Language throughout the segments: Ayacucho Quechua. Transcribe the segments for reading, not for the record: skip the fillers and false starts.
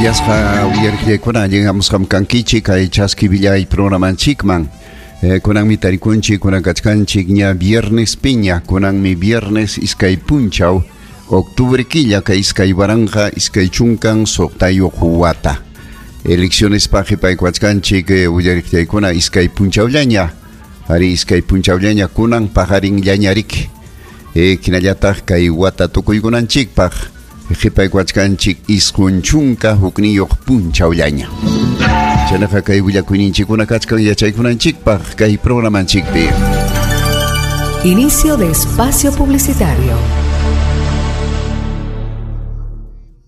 Kuyasqa uyariqllaykuna allin hamusqam kankichik kay Chaski Villay programanchikman. Kunanmi tarikunchik, kunan kachkanchik ña viernes piña, kunanmi viernes iskay punchaw, octubre killa kay 2026 wata. Elecciones paqi paykuachkanchik uyariqllaykuna iskay punchawllaña, ari iskay punchawllaña kunan paqarinllañarik. Hinallataq kay wata tukuykunanchikpaq qhipaykuachkanchik 91 punchawllaña. Chaynaqa kay willakuyninchikkuna kachkan yachaykunanchikpaq kay programanchikpi. Inicio de espacio publicitario.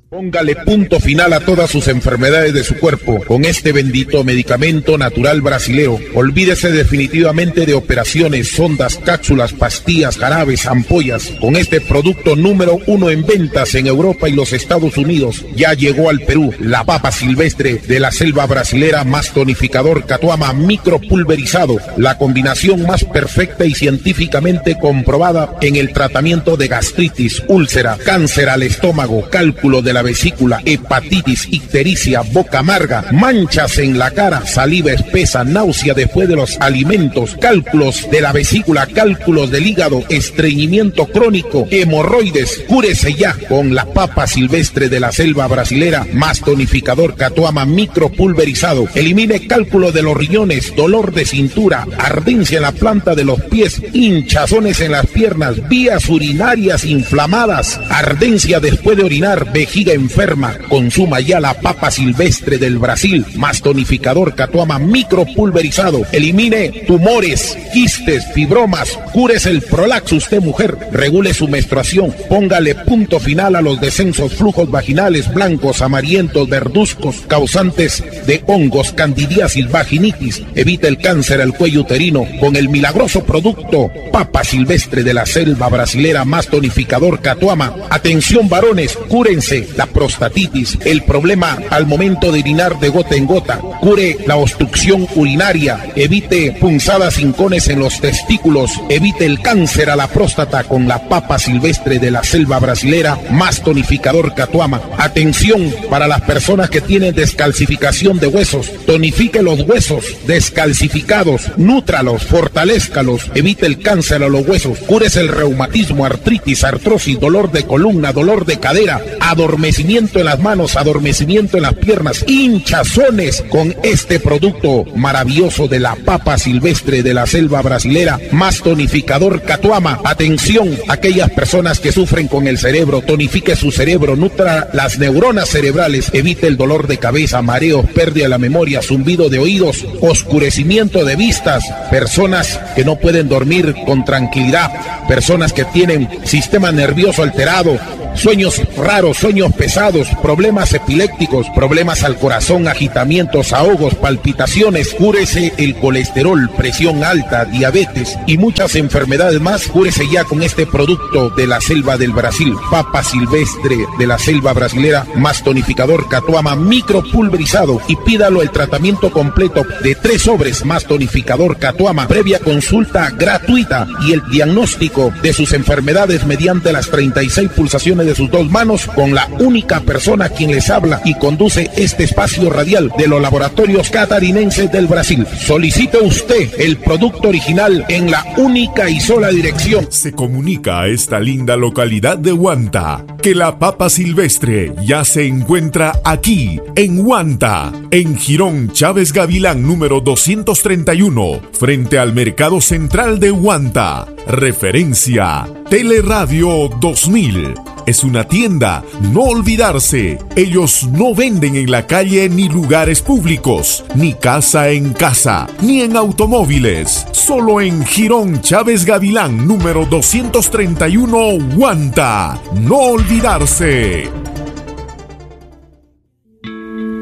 Póngale punto final a todas sus enfermedades de su cuerpo con este bendito medicamento natural brasileo. Olvídese definitivamente de operaciones, sondas, cápsulas, pastillas, jarabes, ampollas. Con este producto número 1 en ventas en Europa y los Estados Unidos, ya llegó al Perú la papa silvestre de la selva brasilera más tonificador Catuama micropulverizado, la combinación más perfecta y científicamente comprobada en el tratamiento de gastritis, úlcera, cáncer al estómago, cálculo de la vesícula, hepatitis, ictericia, boca amarga, manchas en la cara, saliva espesa, náusea después de los alimentos, cálculos de la vesícula, cálculos del hígado, estreñimiento crónico, hemorroides. Cúrese ya con la papa silvestre de la selva brasilera, más tonificador Catuama micropulverizado. Elimine cálculo de los riñones, dolor de cintura, ardencia en la planta de los pies, hinchazones en las piernas, vías urinarias inflamadas, ardencia después de orinar, vejiga enferma. Consuma ya la papa silvestre del Brasil, más tonificador Catuama micropulverizado. Elimine tumores, quistes, fibromas, cúrese el prolaxo usted mujer, regule su menstruación, póngale punto final a los descensos, flujos vaginales blancos, amarillentos, verduzcos, causantes de hongos, candidiasis, vaginitis. Evite el cáncer al cuello uterino con el milagroso producto papa silvestre de la selva brasilera más tonificador Catuama. Atención varones, cúrense la prostatitis, el problema al momento de orinar de gota en gota, cure la obstrucción urinaria, evite punzadas hincones en los testículos, evite el cáncer a la próstata con la papa silvestre de la selva brasilera más tonificador Catuama. Atención para las personas que tienen descalcificación de huesos, tonifique los huesos descalcificados, nútralos, fortalézcalos, evite el cáncer a los huesos, cúrese el reumatismo, artritis, artrosis, dolor de columna, dolor de cadera, adormecimiento en las manos, adormecimiento en las piernas, hinchazones con este producto maravilloso de la papa silvestre de la selva brasilera, más tonificador Catuama. Atención, aquellas personas que sufren con el cerebro, tonifique su cerebro, nutra las neuronas cerebrales, evite el dolor de cabeza, mareos, pérdida de la memoria, zumbido de oídos, oscurecimiento de vistas, personas que no pueden dormir con tranquilidad, personas que tienen sistema nervioso alterado, sueños raros, sueños pesados, problemas epilépticos, problemas al corazón, agitamientos, ahogos, palpitaciones. Cúrese el colesterol, presión alta, diabetes y muchas enfermedades más. Cúrese ya con este producto de la selva del Brasil, papa silvestre de la selva brasilera, más tonificador Catuama micropulverizado, y pídalo el tratamiento completo de 3 sobres más tonificador Catuama, previa consulta gratuita y el diagnóstico de sus enfermedades mediante las 36 pulsaciones de sus 2 manos, con la única persona quien les habla y conduce este espacio radial de los laboratorios catarinenses del Brasil. Solicite usted el producto original en la única y sola dirección. Se comunica a esta linda localidad de Huanta que la papa silvestre ya se encuentra aquí, en Huanta, en Jirón Chávez Gavilán número 231, frente al Mercado Central de Huanta. Referencia Teleradio 2000. Es una tienda, no olvidarse. Ellos no venden en la calle ni lugares públicos, ni casa en casa, ni en automóviles. Solo en Jirón Chávez Gavilán, número 231, Huanta. No olvidarse.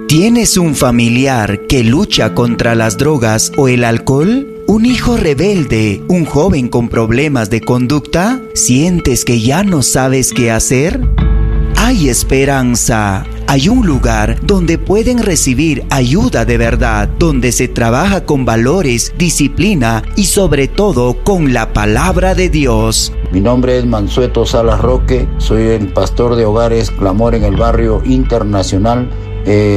¿Tienes un familiar que lucha contra las drogas o el alcohol? ¿Un hijo rebelde? ¿Un joven con problemas de conducta? ¿Sientes que ya no sabes qué hacer? Hay esperanza. Hay un lugar donde pueden recibir ayuda de verdad, donde se trabaja con valores, disciplina y sobre todo con la palabra de Dios. Mi nombre es Mansueto Salas Roque, soy el pastor de Hogares Clamor en el Barrio Internacional.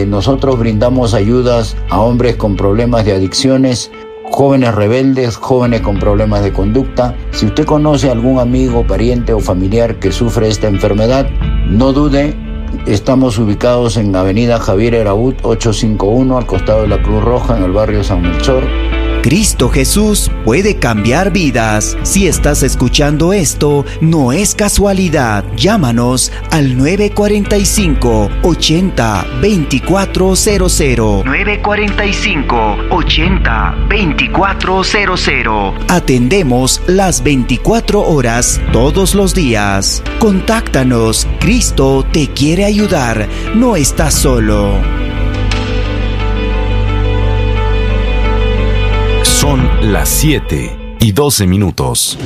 Nosotros brindamos ayudas a hombres con problemas de adicciones, jóvenes rebeldes, jóvenes con problemas de conducta. Si usted conoce a algún amigo, pariente o familiar que sufre esta enfermedad, no dude. Estamos ubicados en Avenida Javier Heraud 851, al costado de la Cruz Roja, en el barrio San Melchor. Cristo Jesús puede cambiar vidas. Si estás escuchando esto, no es casualidad. Llámanos al 945 80 2400. 945 80 2400. Atendemos las 24 horas todos los días. Contáctanos. Cristo te quiere ayudar. No estás solo. Son las 7:12.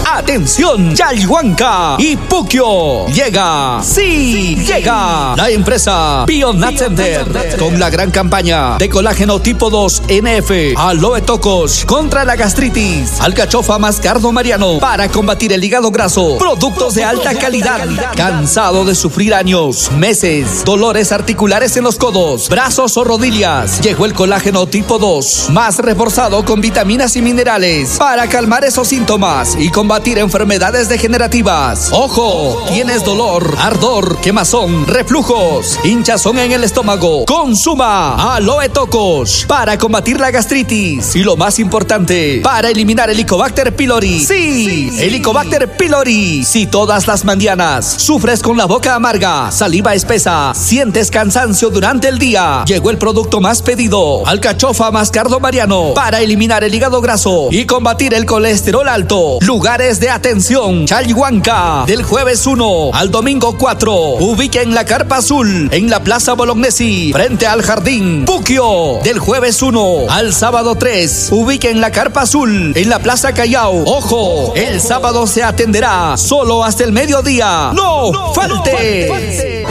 ¡Atención! Chalhuanca y Puquio. Llega, sí, llega la empresa Bionat Center con la gran campaña de colágeno tipo 2 NF, aloe tocos contra la gastritis, alcachofa mascardo mariano para combatir el hígado graso, productos de alta calidad. Cansado de sufrir años, meses, dolores articulares en los codos, brazos o rodillas, llegó el colágeno tipo 2, más reforzado con vitaminas y minerales para calmar esos síntomas y combatir enfermedades degenerativas. ¡Ojo! Tienes dolor, ardor, quemazón, reflujos, hinchazón en el estómago. Consuma Aloe Tocos para combatir la gastritis y lo más importante, para eliminar el Helicobacter pylori. ¡Sí! Helicobacter pylori. Si todas las mañanas sufres con la boca amarga, saliva espesa, sientes cansancio durante el día, llegó el producto más pedido, alcachofa mascardo mariano, para eliminar el hígado graso y combatir el colesterol alto. Lugares de atención, Chalhuanca, del jueves 1 al domingo 4. Ubiquen la Carpa Azul en la Plaza Bolognesi, frente al Jardín Puquio, del jueves 1 al sábado 3. Ubiquen la Carpa Azul en la Plaza Callao. Ojo, el sábado se atenderá solo hasta el mediodía. ¡No falte!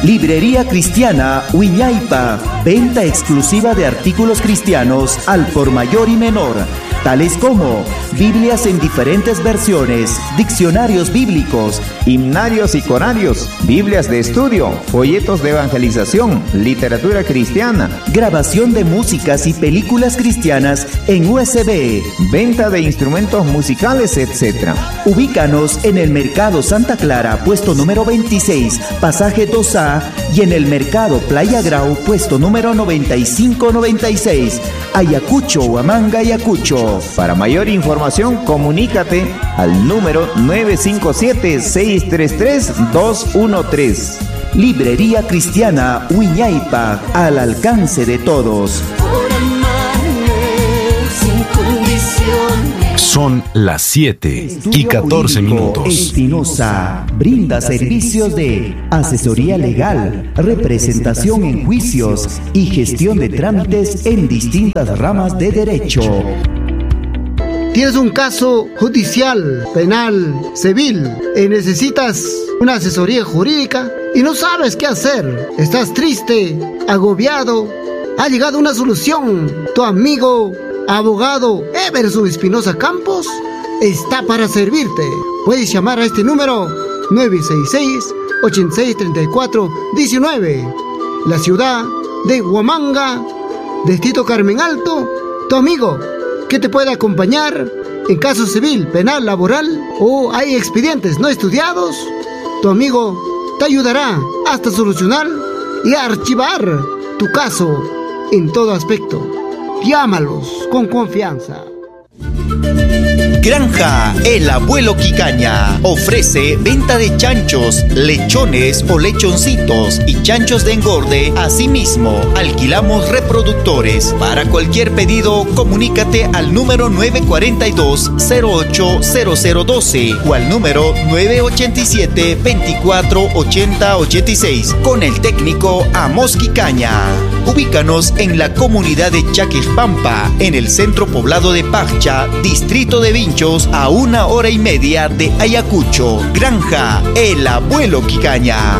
Librería Cristiana Huiñaypa, venta exclusiva de artículos cristianos al por mayor y menor, tales como Biblias en diferentes versiones, diccionarios bíblicos, himnarios y corarios, Biblias de estudio, folletos de evangelización, literatura cristiana, grabación de músicas y películas cristianas en USB, venta de instrumentos musicales, etc. Ubícanos en el Mercado Santa Clara, puesto número 26, pasaje 2A, y en el Mercado Playa Grau, puesto número 9596, Ayacucho, Huamanga, Ayacucho. Para mayor información, comunícate al número 957-633-213. Librería Cristiana Huiñaypa, al alcance de todos. Son las 7:14. Espinosa brinda servicios de asesoría legal, representación en juicios y gestión de trámites en distintas ramas de derecho. Tienes un caso judicial, penal, civil y necesitas una asesoría jurídica y no sabes qué hacer. Estás triste, agobiado. Ha llegado una solución. Tu amigo, abogado Everson Espinosa Campos, está para servirte. Puedes llamar a este número 966-8634-19. La ciudad de Huamanga, Distrito Carmen Alto, tu amigo que te puede acompañar en caso civil, penal, laboral o hay expedientes no estudiados. Tu amigo te ayudará hasta solucionar y archivar tu caso en todo aspecto. Llámalos con confianza. Granja El Abuelo Quicaña ofrece venta de chanchos, lechones o lechoncitos y chanchos de engorde. Asimismo, alquilamos reproductores. Para cualquier pedido, comunícate al número 942-080012 o al número 987-248086 con el técnico Amos Quicaña. Ubícanos en la comunidad de Chaquespampa, en el centro poblado de Paccha, distrito de Vinchos, a 1:30 de Ayacucho. Granja El Abuelo Quicaña.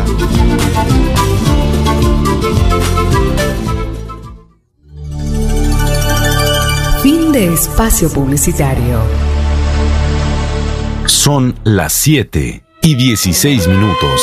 Fin de espacio publicitario. Son las 7 y 16 minutos.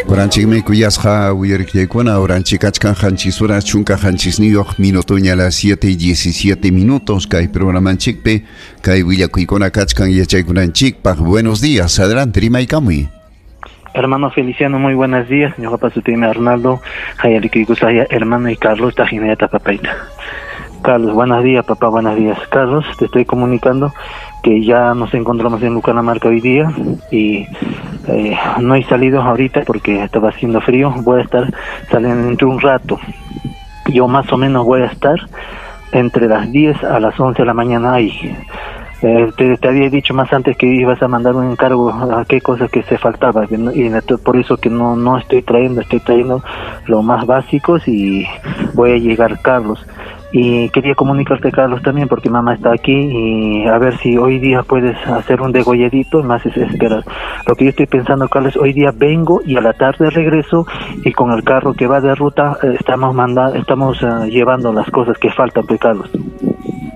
Uranchikmi kuyasqa uyariqllaykuna uranchik kachkan qanchis horas chunka qanchisniyuq minutoña a las 7 y 17 minutos kay programanchikpi kay willakuykuna kachkan yachaykunanchikpaq. Buenos días, adelante rimaykamuy. Hermano Feliciano, muy buenos días. Señor Papá Sutime Arnaldo, Hayalikikusaya, hermano y Carlos Tajineta Papaita. Carlos, buenos días, papá, buenos días. Carlos, te estoy comunicando que ya nos encontramos en Lucanamarca hoy día y no he salido ahorita porque estaba haciendo frío. Voy a estar saliendo dentro de un rato. Yo más o menos voy a estar entre las 10 a las 11 de la mañana ahí. Te había dicho más antes que ibas a mandar un encargo a qué cosa que se faltaba y por eso que no estoy trayendo, estoy trayendo lo más básicos y voy a llegar, Carlos. Y quería comunicarte, Carlos, también porque mamá está aquí y a ver si hoy día puedes hacer un degolladito, más es esperar. Lo que yo estoy pensando, Carlos, hoy día vengo y a la tarde regreso y con el carro que va de ruta estamos llevando las cosas que faltan, pues, Carlos.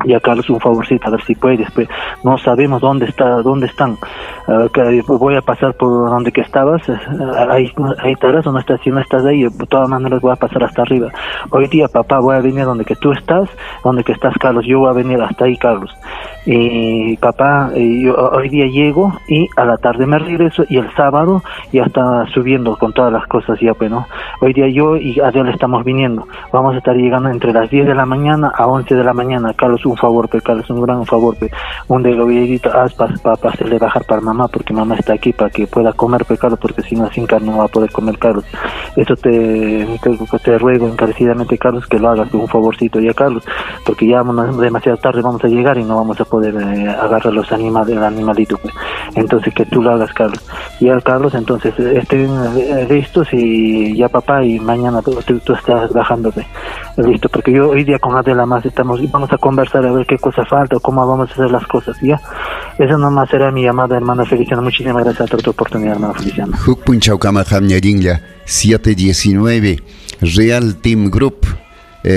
Ya, Carlos, un favorcito, a ver si puedes, pues no sabemos dónde están. Voy a pasar por donde que estabas, ahí estarás o no estás, si no estás ahí, de todas maneras voy a pasar hasta arriba. Hoy día, papá, voy a venir donde que tú estás, donde que estás, Carlos, yo voy a venir hasta ahí, Carlos. Y papá, yo hoy día llego y a la tarde me regreso y el sábado ya está subiendo con todas las cosas ya, pues, ¿no? Hoy día yo y Adela estamos viniendo, vamos a estar llegando entre las 10 de la mañana a 11 de la mañana, Carlos, un favor, pe, Carlos, un gran favor, pe, un degollidito, haz para hacerle bajar para mamá, porque mamá está aquí para que pueda comer, pe, Carlos, porque si no, sin carne no va a poder comer, Carlos. Eso te ruego encarecidamente, Carlos, que lo hagas, un favorcito ya, Carlos, porque ya demasiado tarde vamos a llegar y no vamos a poder agarrar los animales, el animalito, pues. Entonces que tú lo hagas, Carlos. Ya, Carlos, entonces estén listos y ya, papá, y mañana tú estás bajándote. Listo, porque yo hoy día con Adela más vamos a conversar a ver qué cosa falta o cómo vamos a hacer las cosas, ¿ya? Esa nomás será mi llamada, hermano Feliciano. Muchísimas gracias por tu oportunidad, hermano Feliciano. Huk punchawkama qamñarinlla 719 Real Team Group,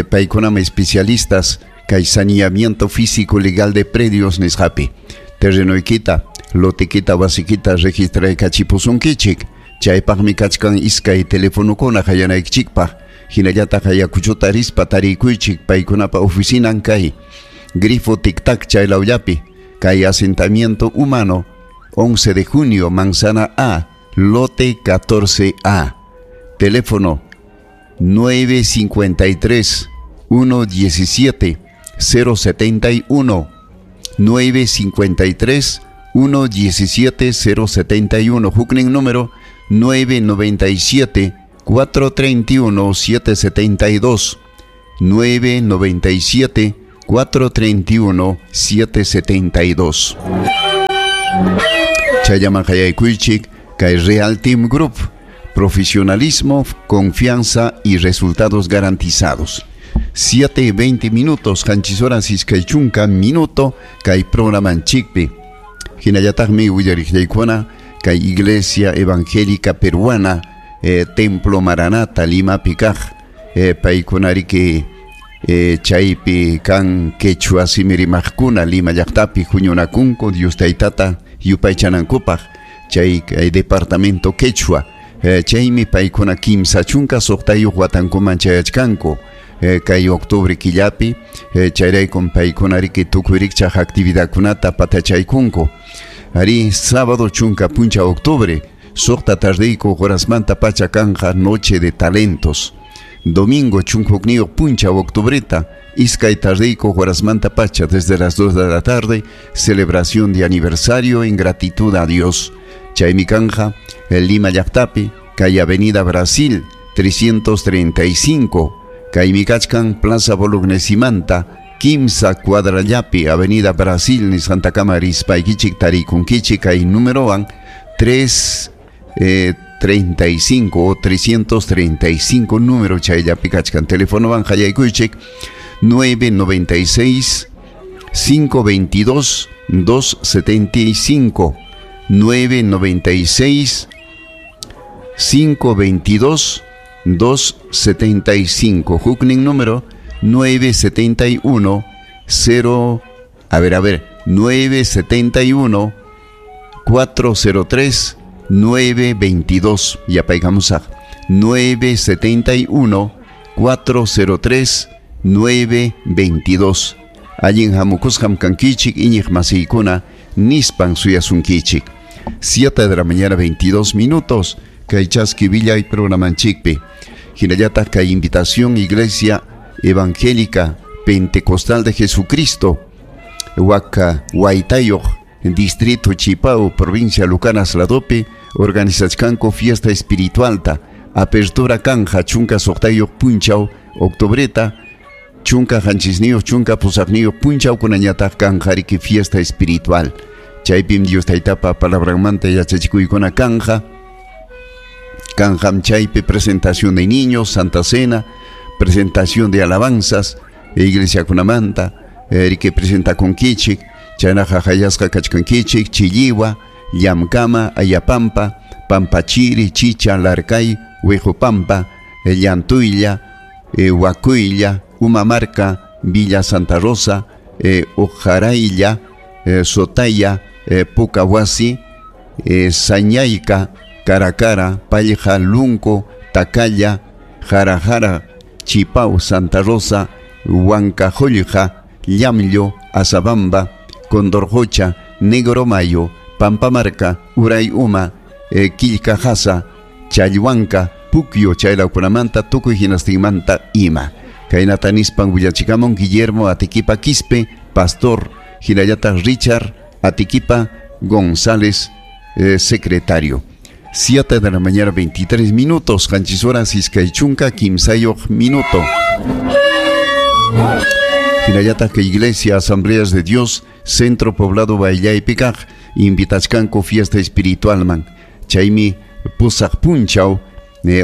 paykunama especialistas kay saneamiento físico legal de predios nisqapi. Terrenoykita, lotikita, wasikita registraykachipusunkichik. Chaypaqmi kachkan iskay telefonokuna hayanaykichikpaq. Hinallataq Ayacuchota rispa tarikuychik paykunapa oficinan kay Grifo Tic Tac chaylawllapi, kay asentamiento humano 11 de junio, Manzana A, lote 14A. Teléfono 953 117 071, 953 117 071. Huknin número 997 431 772, 997 431 772. Chayaman hayaykuychik kay Real Team Group, profesionalismo, confianza y resultados garantizados. 7:20 minutos, qanchis horas iskay chunka minuto kay programanchikpi. Hinallataqmi willariqllaykuna kay Iglesia Evangélica Peruana, Templo Maranata, Limapi kaq, paykunariki chaypi kan quechua simi rimaqkuna Lima llaqtapi huñunakunku Dios taytata yupaychanankupaq chay kay departamento quechua, chaymi paykuna kimsa chunka suqtayuq watankuman chayachkanku kay octubre killapi, chayraykum paykunariki tukuy rikchaq actividadkunata patachaykunku. Ari sábado chunka puncha octubre suqta tardiyku horasmanta pacha kanja noche de talentos. Domingo chunka puncha octubreta iskay tardiyku horasmanta pacha desde las 2 de la tarde celebración de aniversario en gratitud a Dios. Chaymi kanja Lima llaqtapi kay Avenida Brasil 335 kaymi kachkan Plaza Bolognesimanta kimsa cuadrallapi Avenida Brasil nisqantakama rispaykichik tarikunkichik kay numerowan 335 o 335 número chayllapi kachkan. Telefonowan hayaykuychik 996 522 275, 996 522 275. Huknin número 971 0, a ver, 971 403 922. Yapaykamusaq. 971 403 922. Allin hamukusqam kankichik iñiq masiykuna nispan suyasunkichik. 7 de la mañana 22 minutos. Kay chaski villay programanchikpi. Hinallataq kay invitación Iglesia Evangélica Pentecostal de Jesucristo. Huaca Huaytayoq, Distrito Chipao, provincia Lucanas Ladope, organizachkanku fiesta espiritualta. Apertura kanja chunka suqtayuq punchaw octubreta, chunka qanchisniyuq chunka pusaqniyuq punchaw kunañataq kanja riki fiesta espiritual. Chaypim Dios taytapa palabranmanta yachachikuykuna kanja. Kanjam chaypi presentación de niños, Santa Cena, presentación de alabanzas, iglesia kunamanta, riki presenta kunkichik, chaynaqa hayasqa kachkankichik, Chilliwa, Llamkama, Ayapampa, Pampachiri, Chicha, Larcay, Huejopampa, Llantuylla, Huacuylla, Umamarca, Villa Santa Rosa, Ojaraylla, Sotaya, Pucahuasi, Sañayca, Caracara, Palja, Lunco, Tacalla, Jarajara, Chipao, Santa Rosa, Huancajollja, Llamllo, Azabamba, Condorjocha, Negro Mayo, Pampamarca, Uray Uma, Quillcajasa, Chalhuanca, Puquio, chaylawkunamanta, tukuy hinastinmanta ima. Kaynata nispan willachikamun Guillermo Atiquipa Quispe, pastor, hinallataq Richard Atiquipa González, secretario. 7 de la mañana 23 minutos, qanchis horas iskay chunka kimsayuq minuto. Hinallataq que Iglesia Asambleas de Dios, Centro Poblado Baillaypikaq, invitachkanku fiesta espiritualman. Chaymi pusaq punchaw,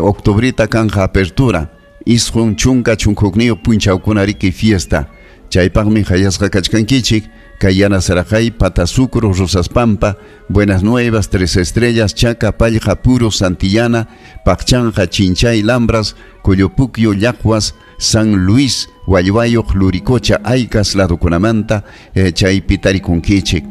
octubrita kanja apertura, isqun chunka chunka hukniyuq punchawkuna riki fiesta. Chaypaqmi hayasqa kachkankichik, Kayana Sarajay, Patasucro, Rosas Pampa, Buenas Nuevas, Tres Estrellas, Chaca, Pallja, Puro, Santillana, Pacchanja, Chinchay, Lambras, Coyopuquio, Yacuas, San Luis, Huayhuayoq, Luricocha, Aycas, Ladukunamanta, chaypi tarikunkichik.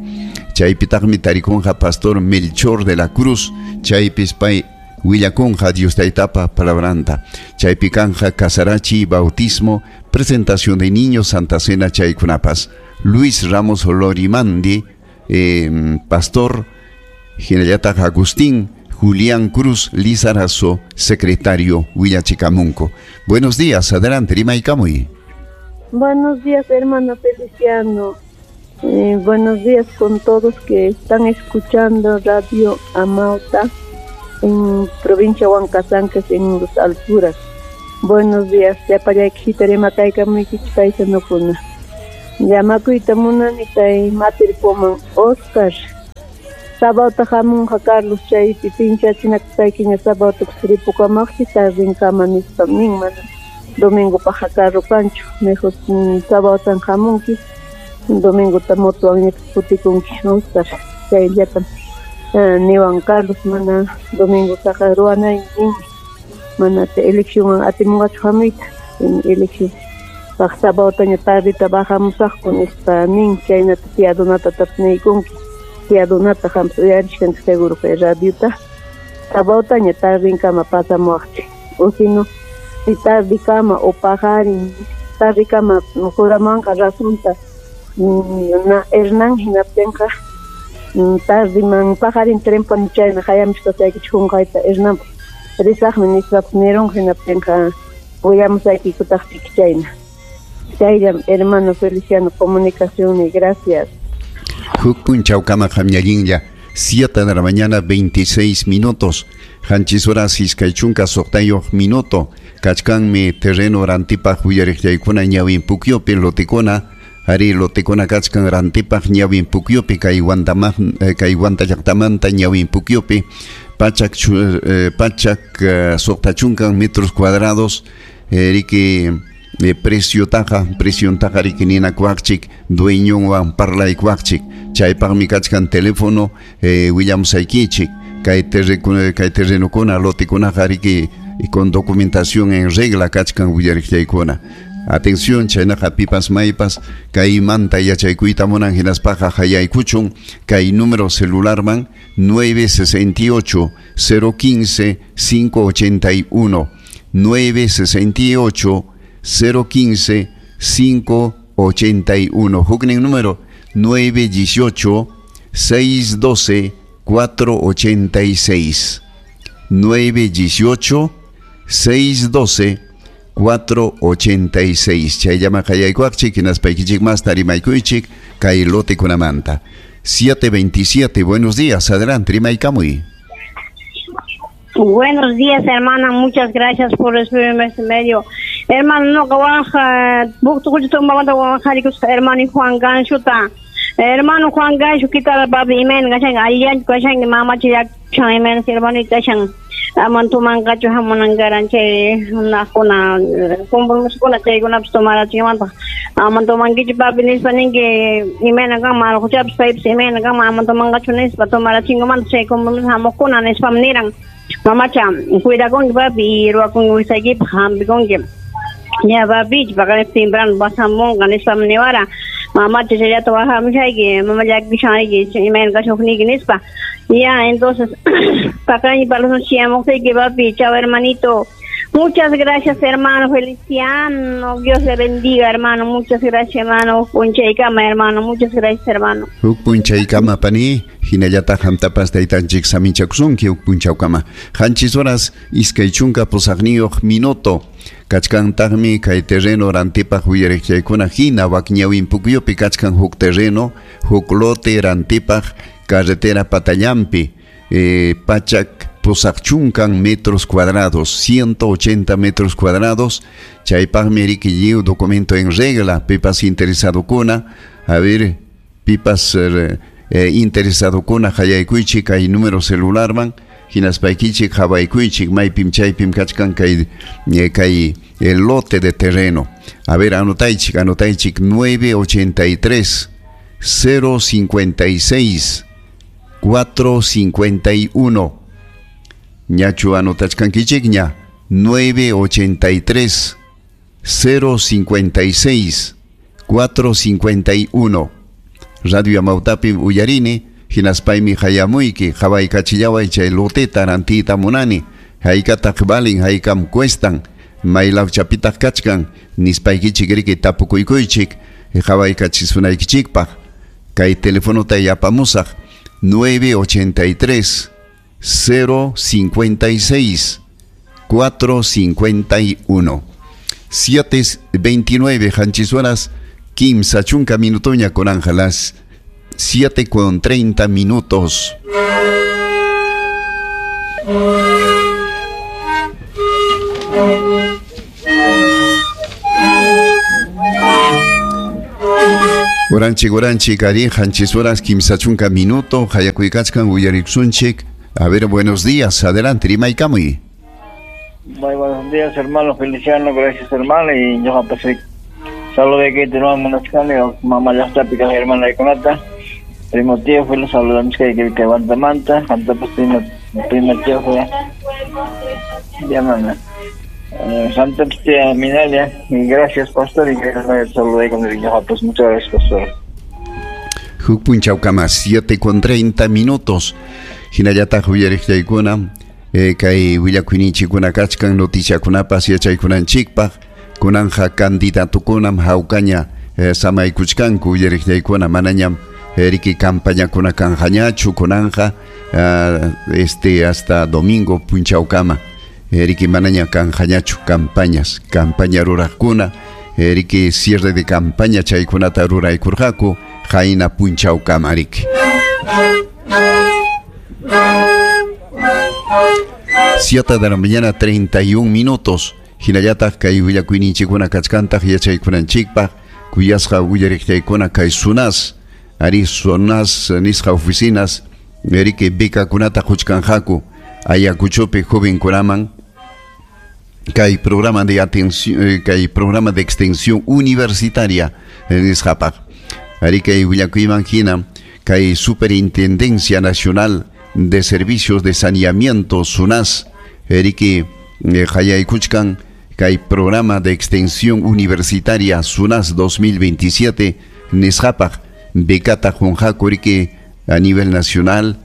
Chaypitaqmi tarikunqa Pastor Melchor de la Cruz, chaypis pay willakunqa Dios taytapa palabranta. Chaypi kanja Casarachi, bautismo, presentación de niños, Santa Cena, chaykunapas. Luis Ramos Lorimandi, pastor, hinallataq Agustín Julián Cruz Lizarazo, secretario Willachikamunco. Buenos días, adelante, rimaykamuy. Buenos días, hermano Feliciano. Buenos días con todos que están escuchando Radio Amauta en provincia Huancasanques, en las alturas. Buenos días, llapallaykitarema kaykamuykichik paisanukuna. Llamakuyta munani kay matirpuman Oscar. Sabawta hamunqa Carlos chaypi pinchachinakusaykiña sabawta ripukamaqchi tardinkama nispa nin mana domingopaqqa carro kanchu. Mejor sabawtan hamunki, domingota motowanña kutikunki Oscar. Chayllatam niwan Carlos mana domingotaqa ruwanay ninmi. Mana eleccionwan atimunqachu hamuyta. Elección paq sabawtaña tardita bajamusaqku nispa nin chaynata tía Donata tapniykunki. Tía Donata qampas uyarishkanki seguro kay radiota. Sabawtaña tardinkama pasamuwaqchik. O sino si tardikama o paqarin tardikama juramanqa razonta na Hernán hinaptinqa tardiman paqarin trenpani chayna hayamushkasaykichik qunqayta Hernán risaqmi nispapas nirunqa hinaptinqa willamusaykikutaqchik chayna. Chayllam hermano Feliciano comunicación y gracias. Huk punchawkama qamñallinlla, 7 de la mañana 26 minutos. Qanchis horas iskay chunka suqtayuq minuto. Kachkanmi terreno rantipaq willariqllaykuna ñawin pukyupi lotikuna. Ari lotikuna kachkan rantipaq ñawin pukyupi kay kay Huanta llaqtamanta ñawin pukyupi pachak suqta chunkan metros cuadrados, riki precio taja, precio taja riki ninakuaqchik, dueñonwan parlaykuaqchik. Chaypaqmi kachkan teléfono, willamusaykichik. Kay terrenokuna lotikunaqa riki y con documentación en regla kachkan willariqllaykuna. Atención, chaynaqa pipas maypas kaymanta yachaykuyta munan hinaspaqa hayaykuchun kay número celularman 968 015 581 968 015 581. Huknin número 918 612 486 918 612 486. Chayllama qayaykuaqchik hinaspaykichik masta rimaykuychik kay lotekunamanta. 727. Buenos días, adelante, rimaykamuy. Buenos días, hermana. Muchas gracias por recibirme este medio. Hermano, no, hermano Juan Ganchuta. Hermano Juan Gancho, ¿qué tal, papi? Imen, gashan, allan, gashan, mamá, chiyak, chan, imen, hermano, gashan. Aman tumanqachu hamunankaran chay runakuna compromisokuna chaykunapas tomarachinmanta aman tomankichu papi nispa ninki imayna kanman allquchapas paypas imayna kanman aman tomanqachu nispa tomarachinkumanta chay compromiso hamuqkuna nispam niran mamacha cuidakunki papi ruwakunki wisaykipaq hampikunki ña papi paqarin temprano pasamunqa nispam niwara mamacha chayllata wajamushayki mama llakishanriki imayna kashuqniyki nispa. Ya, entonces, paqarin palusunchiyamukuyki papi, chao hermanito. Muchas gracias, hermano Feliciano. Dios le bendiga, hermano. Muchas gracias, hermano. Punchaykama, hermano. Muchas gracias, hermano. Huk punchaykama, pani. Hinallataq hamtapas taytanchik saminchakusunki huk punchawkama. Qanchis horas iskay chunka pusaqniyuq minuto. Kachkantaqmi kay terreno rantipaq willariqchaykuna hina wakñawin pukyupi kachkan huk terreno, huk lote rantipaq carretera Patallampi, pachak pusaqchunkan metros cuadrados, 180 metros cuadrados. Chaypaqmi riki lliw documento en regla, pipas interesadokuna, a ver, pipas interesadokuna hayaykuychik kay número celularman, hinaspaykichik hawaykuychik maypim chaypim kachkan kay el lote de terreno. A ver, anotaychik, anotaychik 983 056 451. Ñachu anotachkankichik ña 983 056 451. Radio Amautapi uyarini hinaspaymi hayamuyki hawaykachillaway chay loteta rantiyta munani haykataq valin haykam cuestan maylawchapitaq kachkan nispaykichik riki tapukuykuychik hawaykachisunaykichispak kay telefonota yapamusaq 983 056 451. 7:29 qanchis horas kimsa chunka minutoña con Ángelas 7:30 minutos. Oranchik, oranchik, ari, qanchis horas kimsa chunka minuto, hayakuykachkan uyariksunchik. A ver, buenos días, adelante, rimaykamuy. Muy buenos días, hermano Feliciano, gracias, hermano, y yo pasé. Saludos de que tenemos munachkani, mamá ya está pica hermana de Conata. Primo tío, fue los saludamos que que manta, anta pues primo tío fue. Llámame. Santa tía Minalia, y gracias, pastor, y gracias, saludé con el niño, pues muchas gracias, pastor. Huk punchawkama 7:30 minutos. Hinallataq uyariqllaykuna kay willakuyninchikkuna kachkan noticiakunapas yachaykunanchikpaq kunanja candidatukunam hawkaña samaykuchkanku uyariqllaykuna manañam riki campañakuna kanqañachu kunanja hasta domingo punchawkama riki manaña kanqañachu campañas campaña ruraqkuna riki cierre de campaña chaykunata ruraykurqaku qayna punchawkama riki. 7 de la mañana 31 minutos. Hinallataq kay willakuyninchikkuna kachkantaq yachaykunanchikpaq kuyasqa willariqllaykuna kay SUNAS ari SUNAS nisqa oficinas riki becakunata quchkanqaku Ayacuchopi jovenkunaman kay programa de atención kay programa de extensión universitaria nisqapaq ari kay willakuyman hina kay Superintendencia Nacional de Servicios de Saneamiento SUNAS riki Qallaykuchkan kay programa de extensión universitaria SUNAS 2027 nisqapaq becata qunqaku riki a nivel nacional,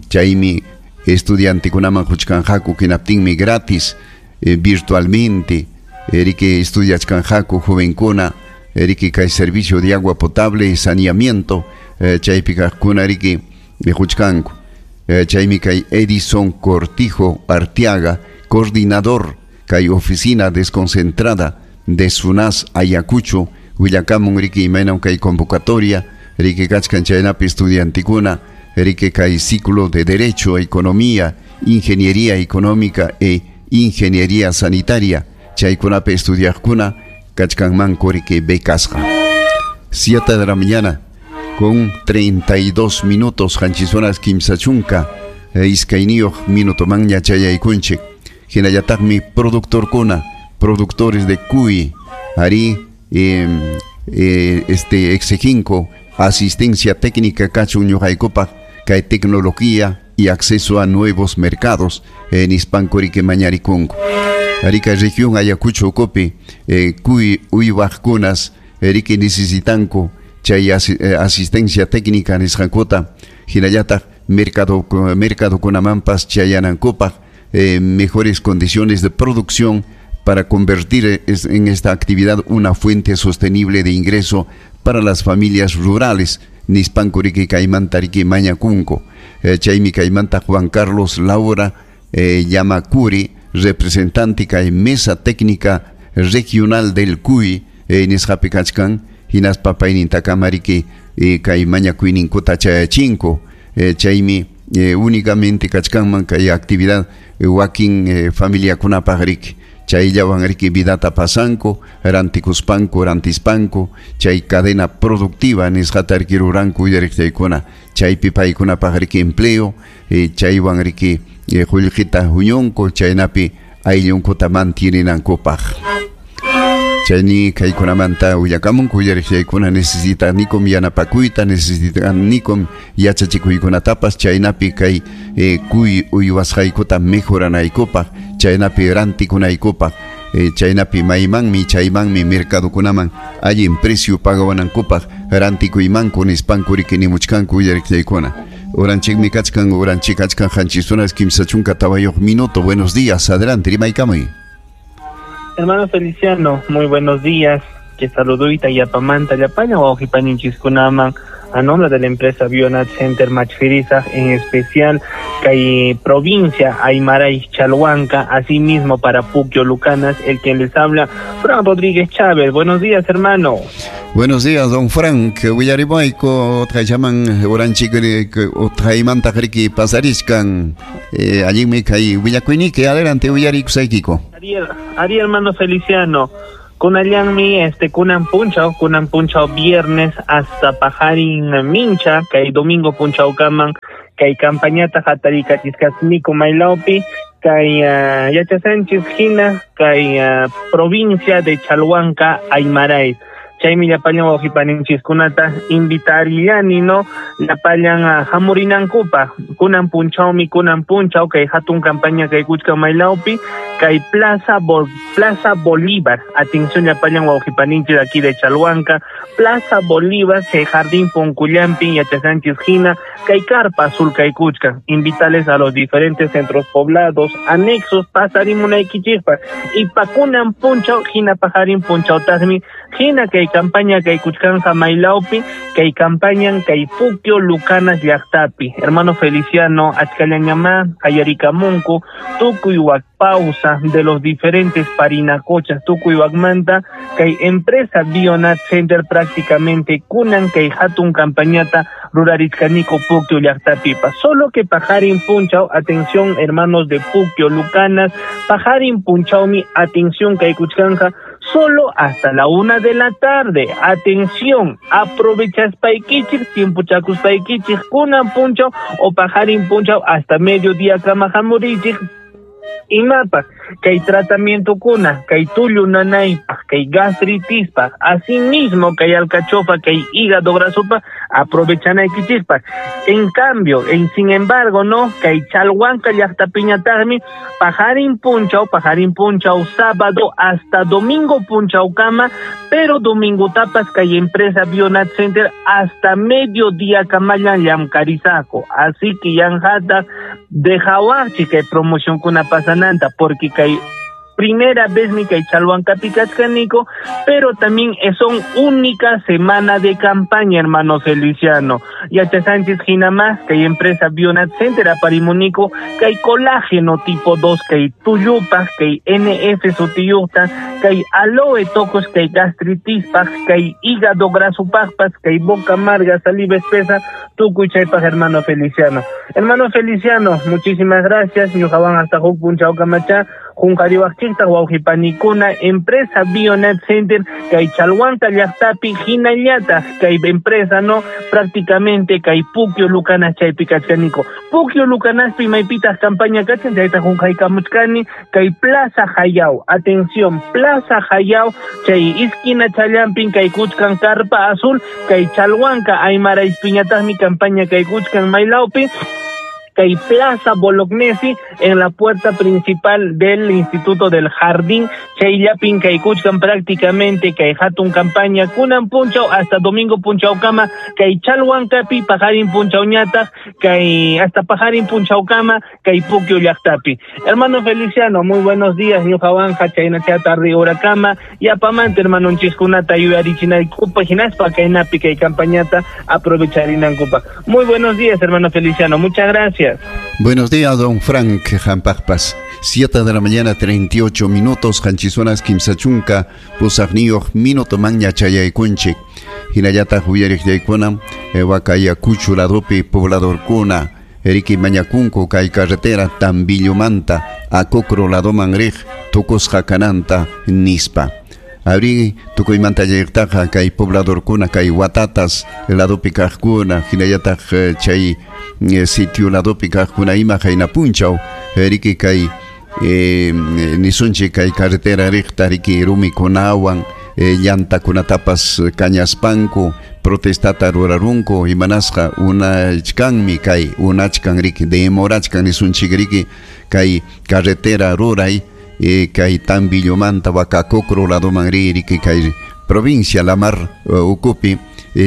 chaymi estudiantekunaman quchkanqaku hinaptinmi gratis virtualmente riki estudiachkanqaku jovenkuna riki kay servicio de agua potable y saneamiento chaypi kaqkuna riki quchkanku. Chaymi kay Edison Cortijo Arteaga, coordinador kay oficina desconcentrada de SUNAS Ayacucho, willakamun riki imaynam kay convocatoria riki kachkan chaynapi estudiantikuna riki kay ciclo de Derecho, Economía, Ingeniería Económica e Ingeniería Sanitaria chaykunapi estudiaqkuna kachkanmanku riki becasqa. 7 de la mañana con 32 minutos, qanchis horas kimsa chunka iskayniyuq minutomanña chayaykunchik. Hinallataqmi productorkuna, productores de cuy, ari exijinko asistencia técnica kachun ñuqaykupaq kay tecnología y acceso a nuevos mercados en nispanku riki mañarikunku. Arica región Ayacucho ukupi cuy uywaqkunas riki necesitanku chay asistencia técnica nisqankuta, hinallataq mercadokunamanpas chayanankupaq mejores condiciones de producción para convertir en esta actividad una fuente sostenible de ingreso para las familias rurales nispanku riki kaymanta riki mañakunku. Chaymi kaymanta Juan Carlos Laura Yamacuri, representante kay mesa técnica regional del CUI nisqapi kachkan, hinaspa paynintakama riki kay mañakuyninkuta chayachinku. Chaymi únicamente kachkanman kay actividad wakin familiakunapaq riki chayllawan riki vidata pasanku, rantikuspanku, rantispanku, chay cadena productiva nisqata riki ruranku uyariqchaykuna, chaypi paykunapaq riki empleo, chaywan riki qullqita huñunku, chaynapi ayllunkuta mantieninankupaq. Chayni kaykunamanta willakamunku uyariqchaykuna necesitanikum yanapakuyta, necesitanikum yachachikuykunatapas, chaynapi kay kuy uywasqaykuta mejoranaykupaq, chaynapi rantikunaykupaq, chaynapi maymanmi chaymanmi mercadokunaman allin precio pagawanankupaq rantikuymanku nispanku riki nimuchkanku uyariqchaykuna. Uranchikmi kachkan, uranchik kachkan qanchis horas kimsa chunka tawayuq minuto. Buenos días, adelante, rimaykamuy. Hermano Feliciano, muy buenos días. Que saludita y apamanta llapalla wawqipaninchikkunaman a nombre de la empresa Bionat Center Machfirisa, en especial kay provincia Aymaray Chalhuanca, asimismo para Puquio Lucanas, el quien les habla, Fran Rodríguez Chávez. Buenos días, hermano. Buenos días, don Frank. Willarimayku utqayllaman uranchik utqaymanta riki pasariskan. Allinmi kay willakuyniki, adelante willarikusaykiku. Ari hermano Feliciano. Kunallanmi kunan punchaw viernes hasta pajarin mincha, kay domingo punchaw kaman, kay campañata hatarikachisqasniku maylawpi, kay yachasanchis hina, kay provincia de Chalhuanca, Aymaray. Chaymi llapallan wawqipaninchikkunata invitarillani, no, llapallan hamurinankupa, kunan punchawmi, kunan punchaw, kay hatun campaña kay kuchka maylawpi, kay Plaza Bolívar. Atención llapallan wawqipaninchik aquí de Chalhuanca, Plaza Bolívar, chay jardín Puncullampi, yachasanchis hina, kay carpa azul kay kuchka. Invitales a los diferentes centros poblados, anexos, pasarimunaykichikpa, y pa kunan punchaw, hina pajarin punchaw tasmi, hina kay campaña kay kuchkanja maylawpi, kay campaña kay Puquio Lucanas llaqtapi. Hermano Feliciano, achkallañamá, ayarikamunku, tukuy pausa de los diferentes parinacochas, tukuy wakmanta, kay empresa Bionat Center prácticamente kunan kay hatun campañata rurarichkaniko Puquio llaqtapipa. Solo que pajarin punchaw, atención hermanos de Puquio Lucanas, pajarin punchawmi, atención kay kuchkanja, solo hasta la 1 de la tarde. Atención, aprovechaspaykichik, tiempochakuspaykichik, kunan punchaw o pajarin punchaw hasta mediodía kama hamurichik. Imapaq kay tratamiento kuna, kay tullu nanaypaq, kay gastritispa, asimismo kay alcachofa, kay hígado grasopa, Aprovechanaykichikpaq. En cambio, sin embargo, no, kay Chalhuanca llaqtapiñataqmi pajarin punchaw, sábado hasta domingo punchawkama, pero domingo tapas kay empresa Bionat Center hasta mediodía kamallan llamkarisaqo. Así que yanjata dejawaqchi kay promoción kuna pasananta, porque kay primera vez mi kay Chalhuancapi kachkaniko, pero también son única semana de campaña, hermano Feliciano. Yacha Sánchez Ginamás, kay empresa Bionat Center aparimunico, kay colágeno tipo 2, kay tuyupas, kay NF sutiyuta, kay aloe tocos, kay gastritis, kay hígado graso paspas, kay boca amarga, saliva espesa, tukuy chaypaj, hermano Feliciano. Hermano Feliciano, muchísimas gracias. Ñuqawan hasta huk punchaw kamacha, Junqariwaqchikta wawqipanikuna, empresa Bionet Center, kay Chalhuanca llaqtapi hinallataq kay empresa no prácticamente kay Puquio Lucanas chaypi kachkaniko. Puquio Lucanaspi maypitaq campaña kachan chayta junqaykamuchkani kay Plaza Jayao. Atención, Plaza Jayao chay esquina challampin kay kuchkan carpa azul kay Chalhuanca Aymara ispiñataqmi campaña kay kuchkan maylawpi kay Plaza Bolognesi en la puerta principal del Instituto del Jardín chayllapin kay kuchkan prácticamente kay hatun campaña kunan punchaw hasta domingo punchaw kama kay Chalhuancapi pajarin punchaw ñataq kay hasta pajarin punchaw kama kay Puquio llaqtapi. Hermano Feliciano, muy buenos días, ñuqawanqa chaynacha tarde hora kama yapamanta hermanonchiskunata yuyarichinaykupa hinaspa kaynapi kay campañata aprovecharinankupaq. Muy buenos días, hermano Feliciano, muchas gracias. Buenos días, don Frank Jampajpas. 7 de la mañana, 38 minutos, Hanchizonas, Kimsachunka, Pusaqniyuq, minuto maña chayaykunchik. Hinallataq uyariq yaykuna, Huacayacucho ladopi pobladorkuna, Eriki mañakunku kay carretera Tambillomanta, Acocro ladoman riq, tukusqa kananta nispa. Abri tukuymanta llayqtaqa kay pobladorkuna, kay watatas ladopi kaqkuna, hinallataq chay sitio ladopi kaqkuna ima hayna punchaw, riki kay nisunchik kay carretera riqta riki rumikunawan, llantakunatapas kañaspanku protestata rurarunku imanasqa unachkanmi kay unachkan riki demorachkan nisunchik riki kay carretera ruray kay Tambillomanta Huacacocro ladoman riki kay provincia Lamar ukupi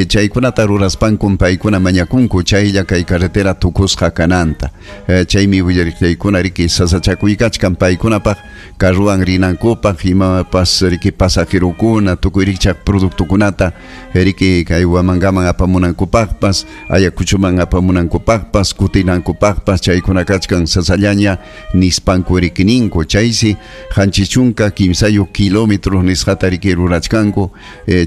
chaykunata ruraspankum paykuna mañakunku chaylla kay carretera tukusqa kananta. Chaymi willariqllaykuna riki sasachakuykachkan paykunapaq carruwan rinankupaq imapas riki pasajerukuna tukuy rikchaq productokunata riki kay Huamangaman apamunankupaqpas Ayacuchoman apamunankupaqpas kutinankupaqpas chaykuna kachkan sasallaña nispanku riki ninku. Chaysi 53 kilómetros nisqata riki rurachkanku.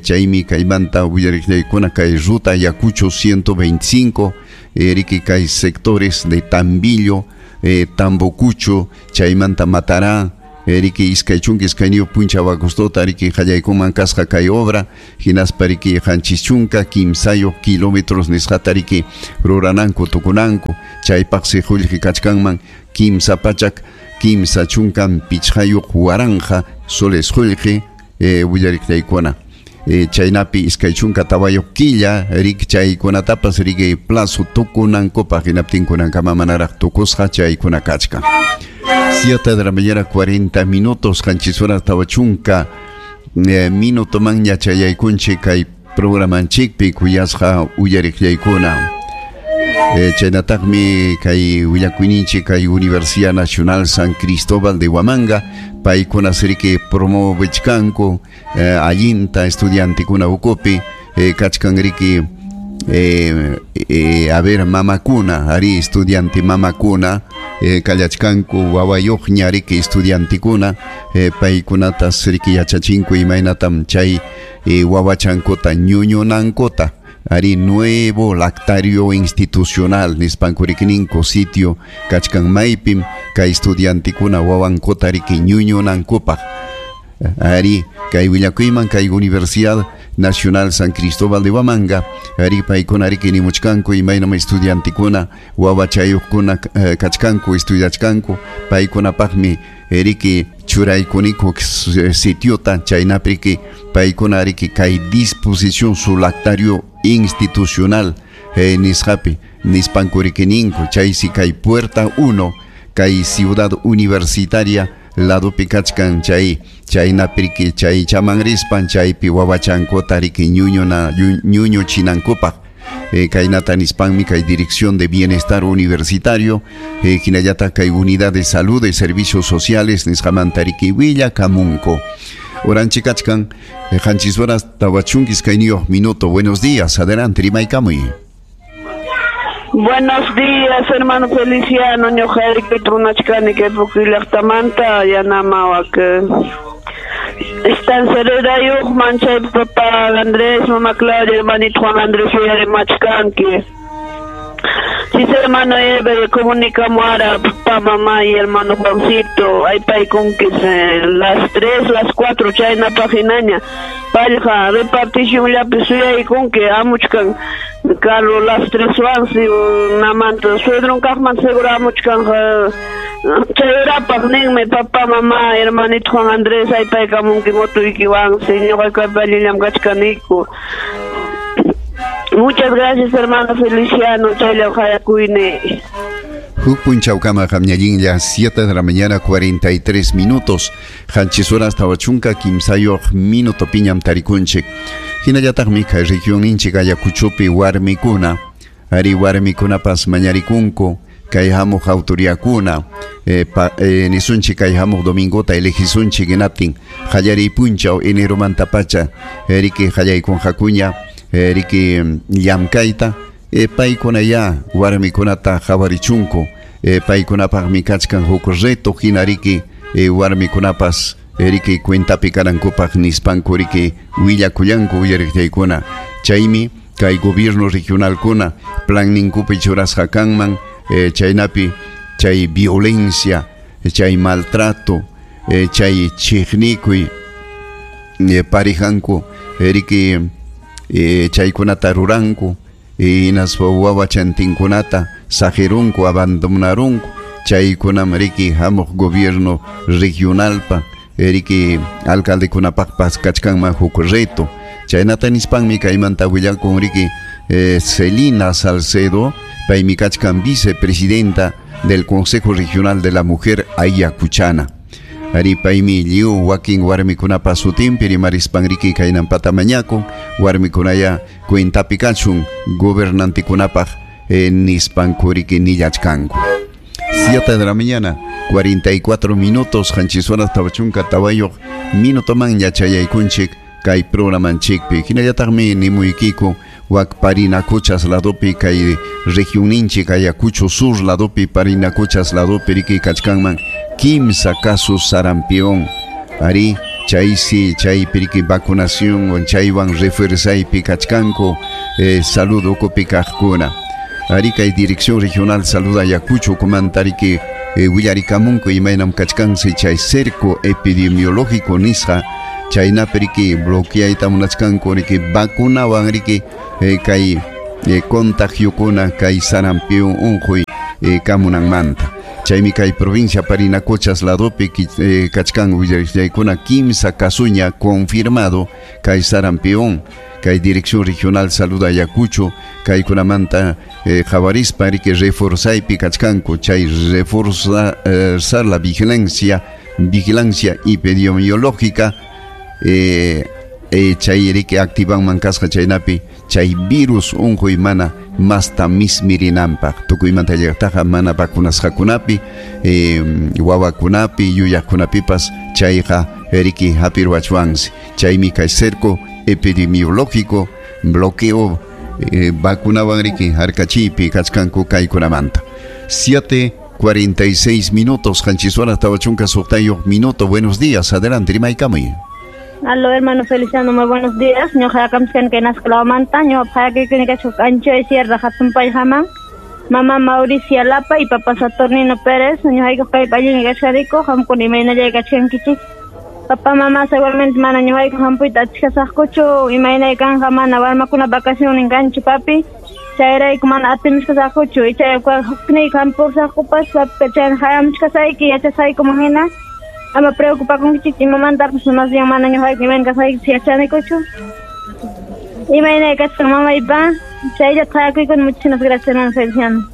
Chaymi kaymanta willariqllaykuna kay ruta Ayacucho 125 riki kay sectores de Tambillo, Tambocucho, chaymanta Matará, riki iskay chunka iskayniyuq punchaw agostota riki qallaykuman kasqa kay obra hinaspa riki 73 kilómetros nisqata riki rurananku tukunanku chaypaqsi qullqi kachkanman 335 waranqa soles qullqi willariqllaykuna. Chaynapi 24 killa riki chaykunatapas riki plazo tukunankupaq hinaptinkunankama manaraq tukusqa chaykuna kachkan. 7 de la mañana 40 minutos, qanchis horas 40 minuto manña chayaykunchik kay programanchikpi kuyasqa uyariqllaykuna. Chaynataqmi kay willakuyninchik kay Universidad Nacional San Cristóbal de Huamanga paykuna riki promovechkanku allinta estudiantekuna ukupi kachkan riki a ver mamakuna ari estudiante mamakuna kallachkanku wawayuqña riki estudiantekuna paykunatas riki yachachinku imaynatam chay wawachankuta ñuñunankuta ari nuevo lactario institucional nispanku rikininku sitio kachkan maypim kay estudiantekuna wawankuta riki ñuñunankupaq. Ari kay willakuyman kay Universidad Nacional San Cristóbal de Huamanga ari paykuna riki nimuchkanku imaynam estudiantekuna wawachayuqkuna kachkanku estudiachkanku paykunapaqmi riki churaykuniku sitiota chaynapi riki paykuna riki kay disposición su lactario institucional nisqapi nispanku riki ninku chaysi kay puerta 1 kay ciudad universitaria ladopi kachkan chay chaynapi riki chay chaman rispan chaypi wawachankuta riki ñuñuchinankupaq kaynata nispanmi kay Dirección de Bienestar Universitario hinallataq kay Unidad de Salud y Servicios Sociales nisqamanta riki willakamunku. Oranchik kachkan 7 horas 42 minutos. Buenos días, adelante, rimaykamuy. Buenos días, hermano Feliciano, ñuqayki trunachkani kay Puquio llaqtamanta yanamawak. Estancierayuqman chay papá Andrés, mamá Claudia, hermanito Juan Andrés, uyarimachkanki. Sí, hermano Eber, comunicamos ahora, papá, mamá y hermano Juancito, hay paykunki las 3, las 4, chayna paginaña, payqa repartición llapi suyaykunki, amuchkan, Carlos las 3 wansi, namanta, suegron kaqman seguro amuchkan, chayrapaq ninmi, papá, mamá, hermanito Juan Andrés, hay paykamunki motuykiwansi, ñuqayku allillam kachkaniku. Muchas gracias, hermano Feliciano. Chayla hayakuyni. Huk punchawkama qamñallinlla 7 de la mañana 43 minutos. 7 horas 43 minuto piñam tarikunchik. Hinallataqmi kay regionninchik Ayacuchopi warmikuna. Ari warmikunapas mañarikunku kay hamuq autoridadkuna nisunchik kay hamuq domingota elegisunchik hinaptin qallariy punchaw eneromanta pacha riki qallaykunqakuña riki llamkayta paykuna ya warmikunata qhawarichunku paykunapaqmi kachkan huk reto hina riki warmikunapas riki cuentapi kanankupaq nispanku riki willakullanku uyariqchaykuna chaymi kay gobierno regionalkuna planninkupi churasqa kanman chaynapi chay violencia chay maltrato chay chiqnikuy parijanku riki chaykunata ruranku hinaspa wawachantinkunata saqirunku abandonarunku chaykunam riki hamuq gobierno regionalpa riki alcaldekunapaqpas kachkanman huk reto chaynata nispanmi kaymanta willakun riki Celina Salcedo paymi kachkan vicepresidenta del Consejo Regional de la Mujer Ayacuchana. Ari paymi lliw wakin warmikunapa sutinpi rimarispan riki kaynampata mañakun warmikunaya cuentapi kachun gobernantikunapaq nispanku riki nillachkanku. 7 de la mañana 44 minutos 7 horas 44 minutoman yachayaykunchik kay programanchikpi hinallataqmi nimuykiku wak Parinacochas ladopi kay regionninchik Ayacucho Sur ladopi Parinacochas ladopi riki kachkanman kimsa casos sarampión ari chaysi chaypi riki vacunación chaywan refuerzaypi kachkanku salud ukupi kaqkuna ari kay Dirección Regional Salud Ayacucho kumanta riki willarikamunku imaynam kachkansi chay cerco epidemiológico nisqa chaynapi riki bloqueayta munachkanku riki vacunawan riki kay contagiokuna kay sarampión unquy kamunanmanta chaymi kay provincia Parinacochas ladopi kachkan willariqchaykuna kimsa kasuña confirmado kay sarampión kay Dirección Regional Salud Ayacucho kaykunamanta qhawarispa riki reforzaypi kachkanku chay reforzar la vigilancia epidemiológica chay riki activanman kasqa chaynapi chay virus unquy mana masta mismirinanpaq tukuymanta llaqtaqa mana vacunasqakunapi wawakunapi yuyaqkunapipas chayqa riki hapirwachwansi chaymi kay cerco epidemiológico bloqueo vacunawan riki harkachiypi kachkanku kaykunamanta. 7:46 minutos 7 horas 46 minutos. Buenos días, adelante rimaykamuy. Aló, hermano Feliciano, muy buenos días. Ñuqa kamskan kay Nascalawmanta, ñuqa phayakikuni kachuk Anchoy Sierra Hatunpayhaman. Mamá Mauricia Lapa y papá Saturnino Pérez, ñuqayku kay pallini kachkaniku, qamkuna imaynallay kachkankichik. Papá, mamá, seguramente mana ñuqayku hampuyta achkasaqkuchu, imaynay kanja mana warmakuna vacaciones kanchu papi. Chayrayku mana atimushkasaqkuchu, ichayqa hukniyku hampusaqkupas, papi chayna hayamushkasayki, yachasaykuman hina. Ama preocupakunkichik imamantapas más bien mana ñuqayku imayna kasqaykichik yachanikuchu. Imayna kasqan mamaypa chaylla thakuykun. Muchísimas gracias, hermano Feliciano.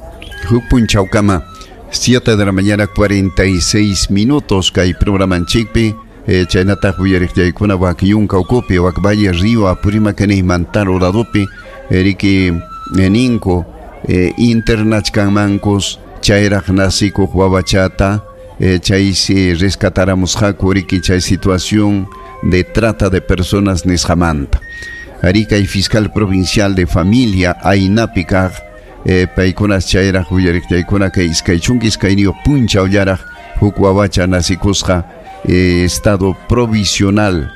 Huk punchawkama. 7 de la mañana 46 minutos kay programanchikpi chaynataq uyariqllaykuna wak yunka ukupi wak valle río Apurímac Mantaro ladopi riki ninku internachkanmankus chayraq nasikuq wawachata chaysi rescataramusqaku riki chay situación de trata de personas nisqamanta. Ari kay fiscal provincial de familia aynapi kaq paykunas chayraq uyariqllaykuna kay iskay chunka iskayniyuq punchawllaraq huk wawacha nasikusqa estado provisional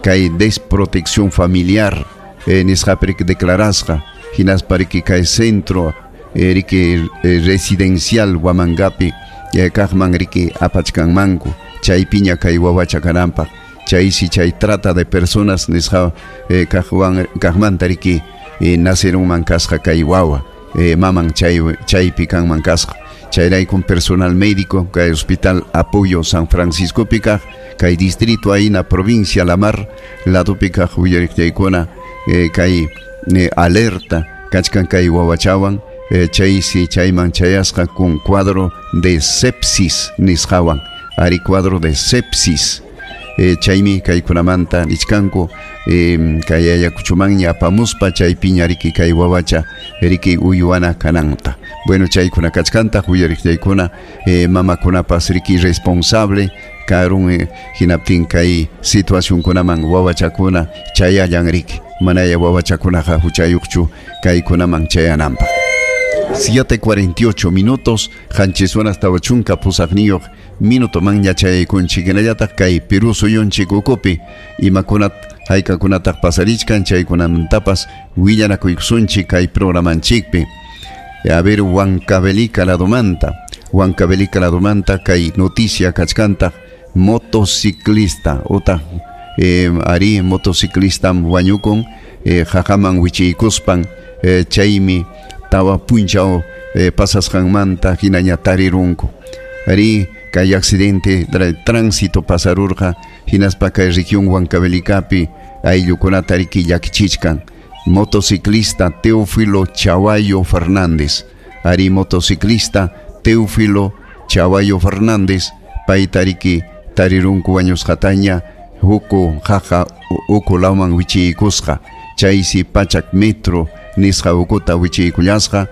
kay desprotección familiar nisqapi riki declarasqa hinaspa riki kay centro riki residencial Huamangapi kaqman riki apachkanmanku chaypiña kay wawacha kananpaq chaysi chay trata de personas nisqa kaqmanta riki nacerunman kasqa kay wawa maman chaypi kanman kasqa chayraykum personal médico kay hospital Apoyo San Francisco pi kaq kay distrito ahí na provincia La Mar ladopi kaq uyariqllaykuna kay alerta kachkan kay wawachawan chaysi chayman chayasqa con cuadro de sepsis nisqawan ari cuadro de sepsis chaymi kaykunamanta nichkanku kay Ayacuchomanña apamuspa chaypiña riki kay wawacha riki uywana kananta. Bueno, chaykuna kachkantaq uyariqllaykuna mamakunapas riki responsable karun hinaptin kay situacionkunaman wawachakuna chayallan riki manaya wawachakunaqa huchayuqchu kaykunaman chayananpaq. 7:48 minutos, qanchis horas tawachunka pusaqniyuq minuto manña chayaykunchik hinallataq kay Perú suyunchik ukupi imakunat haykakunataq pasarichkan chaykunamantapas willanakuykusunchik kay programanchikpi. A ver, Huancavelica ladomanta, Huancavelica ladomanta kay noticia kachkantaq motociclista utaq ari motociclistam wañukun qaqaman wichiykuspan chaymi tawa punchaw pasasqanmanta hinaña tarirunku. Ari kay accidente de tránsito pasarurqa hinaspa kay región Huancavelicapi ayllukunata riki llakichichkan. Motociclista Teófilo Chahuayo Fernández. Ari motociclista Teófilo Chahuayo Fernández payta riki tarirunku wañusqataña huku qaqa uku lawman wichiykusqa chaysi pachak metro nisqa ukuta wichiykullasqa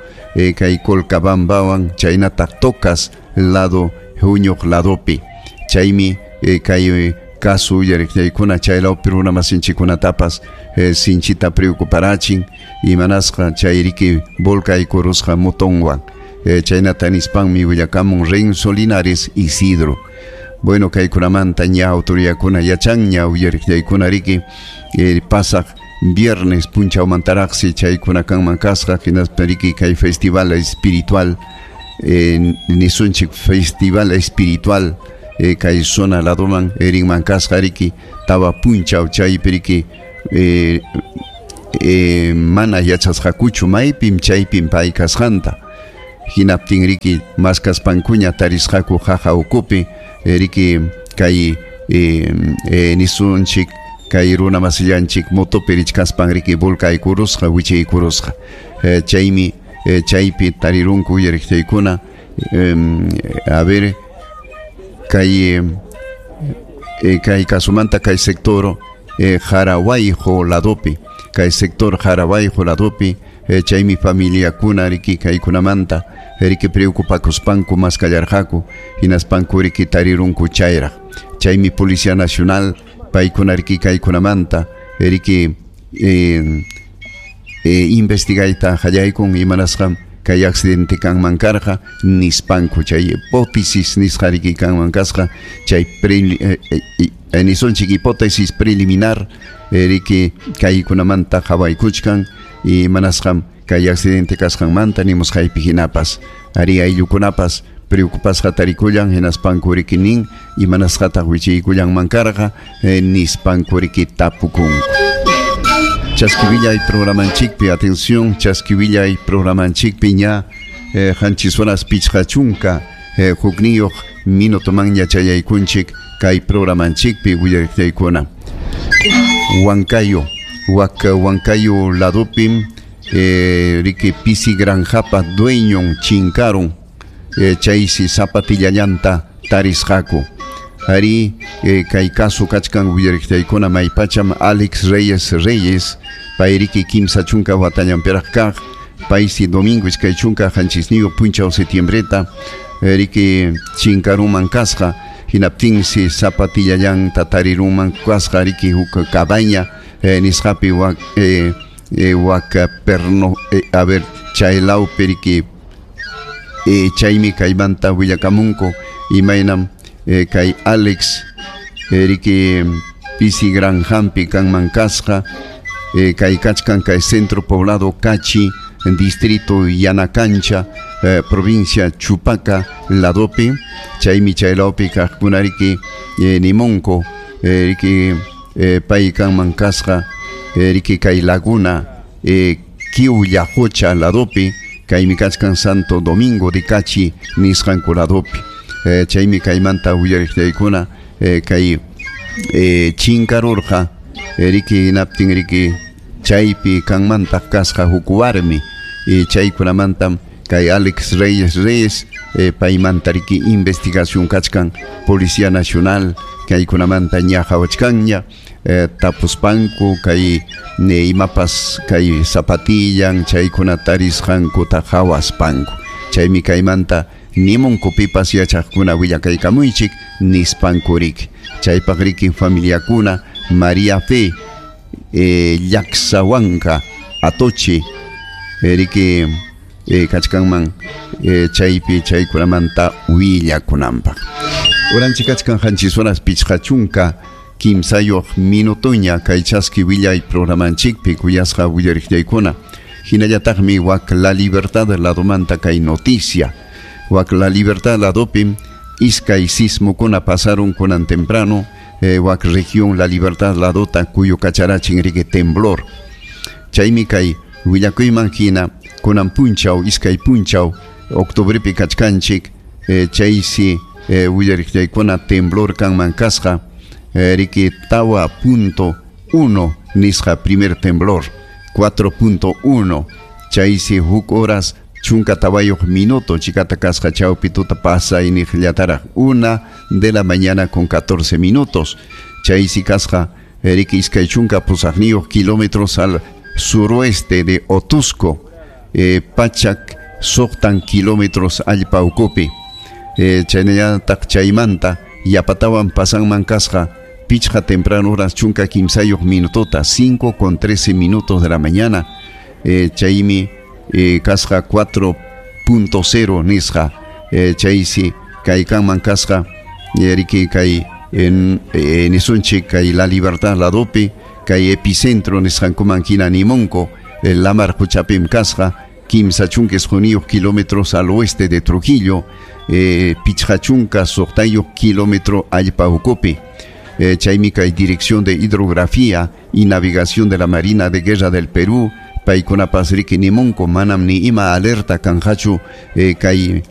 kay Colcabambawan chaynataq Tocas lado huñuq ladopi chaymi kay caso uyariqllaykuna chay lawpi runa masinchikkunatapas sinchita preocuparachin imanasqa chay riki volcaykurusqa motonwan chaynata nispanmi willakamun Renzo Linares Isidro. Bueno, kaykunamanta ña autoridadkuna yachanña uyariqllaykuna riki pasaq viernes punchawmantaraqsi chaykuna kanman kasqa hinaspa riki kay festival espiritual nisunchik festival espiritual kay zona ladoman rinman kasqa riki tawa punchaw chaypi riki mana yachasqakuchu maypim chaypim pay kasqanta hinaptin riki maskaspankuña tarisqaku qaqa ukupi riki kay nisunchik kay runa masillanchik motopi richkaspan riki volcaykurusqa wichiykurusqa chaymi chaypi tarirunku uyariqllaykuna a ver kay kay kasumanta kay sector Jarahuayjo ladopi kay sector Jarahuayjo ladopi chaymi familiakuna riki kaykunamanta riki preocupakuspanku maskallarqaku hinaspanku riki tarirunku chayraq chaymi Policía Nacional paykuna riki kaykunamanta riki investigayta qallaykun imanasqam kay accidente kanman karqa nispanku chay hipótesis nisqa riki kanman kasqa chay nisunchik hipótesis preliminar riki kaykunamanta qhawaykuchkan imanasqam kay accidente kasqanmanta nimusqaypi hinapas ari ayllukunapas preocupasqa tarikullan hinaspanku riki nin imanasqataq wichiykullanman karqa nispanku riki tapukunku. Chaskivillay programanchikpi, atención, Chaskivillay programanchikpi ña qanchis horas pichqa chunka hukniyuq minutomanña chayaykunchik kay programanchikpi willariqllaykuna. Huancayo, Wak Huancayo ladupim riki pisi granjapa dueñon chinkarun, chaysi zapatillallanta tarisqaku. Ari kay caso kachkan willariqtaykuna maypacham Alex Reyes Reyes payriki 30 watallanpiraq kaq, paysi domingo 27 punchaw septiembreta riki chinkaruman kasqa, hinaptinsi zapatillallanta tariruman kasqa riki huk cabaña nisqapi wak wak perno a ver chaylawpi riki chaymi kaymanta willakamunku imaynam kay Alex riki pisi granjampi kanman kasqa, kay kachkan kay centro poblado Cachi, distrito Yanacancha, provincia Chupaca ladopi, chaymi chaylawpi kaqkuna riki nimunku riki pay kanman kasqa riki kay laguna Kiulla Qocha ladopi, kaymi kachkan Santo Domingo de Cachi nisqanku ladopi. Chaymi kaymanta willariqtaykuna kay chinkarurqa riki hinaptin riki chaypi kanmantaq kasqa huk warmi, chaykunamantam kay Alex Reyes Reyes paymanta riki investigación kachkan Policía Nacional kaykunamanta ña qhawachkanña tapuspanku kay imapas kay zapatillan chaykuna tarisqankuta qhawaspanku. Chaymi kaymanta nimunku pipas yachaqkuna willakaykamuychik nispanku riki. Chaypaq riki familiakuna María Fe Llaqsawanka Atoche riki kachkanman chaypi chaykunamanta willakunanpaq. Uranchik kachkan 7 horas 53 minutoña kay chaski willay programanchikpi kuyasqa willariqtaykuna. Hinallataqmi wak La Libertad ladomanta kay noticia. Wak La Libertad ladopi iskay sismukuna pasaron kunan temprano, wak región La Libertad ladota kuyo kacharachin riki temblor. Chaymi kay willakuyman hina kunan punchaw iskay punchaw octubrepi kachkanchik, chaysi willariqtaykuna temblor kanman kasqa riki 4.1 nisqa primer temblor, 4.1 chaysi huk horas 14 minuto chikata kasqa chawpi tuta pasayniqllataraq 1 de la mañana con 14 minutos, chaysi kasqa riki 28 kilómetros al suroeste de Otusco, pachak 6 kilómetros allpa ukupi. Chaynallataq chaymanta yapatawan pasanman kasqa pichqa temprano horas 13 minutota 5:13 minutos de la mañana, chaymi kasqa 4.0 nisqa, chaysi kaykanman kasqa riki kay nisunchik kay La Libertad ladopi kay epicentro nisqankuman hina nimunku lamar quchapim kasqa 39 kilómetros al oeste de Trujillo, 56 kilómetro allpa ukupi. Chaymi kay Dirección de Hidrografía y Navegación de la Marina de Guerra del Perú paykunapas riki nimunku manam ni ima alerta kanqachu kay